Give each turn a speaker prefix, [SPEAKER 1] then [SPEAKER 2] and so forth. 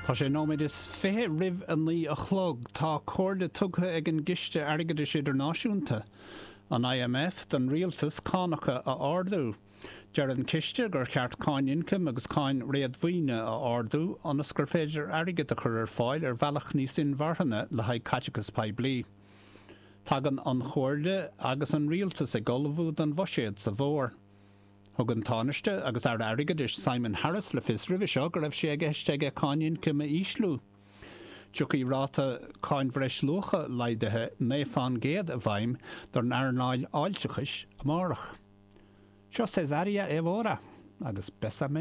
[SPEAKER 1] Tá sé nóiméad is 20 roimh 9 a chlog. Tá comhairle tugtha ag an gCiste Airgeadais Idirnáisiúnta, an IMF, don rialtas cánacha a ardú. Deir an Ciste gur cheart cáin ioncaim agus cáin réadmhaoine a ardú ionas gur féidir airgead a chur ar fáil ar bhealach níos inmharthana le haghaidh caiteachas poiblí. Tagann an chomhairle agus an rialtas ag ullmhú don bhuiséad sa bhfómhar. Thug an Tánaiste agus Aire Airgeadais Simon Harris le fios roimhe seo go raibh sé i gceist aige cáin ioncaim a ísliú. Tiocfaidh ráta Cáin Bhreisluacha laghdaithe 9 fán gcéad i bhfeidhm don earnáil fháilteachais amárach. Seo Cesária Évora agus Bésame.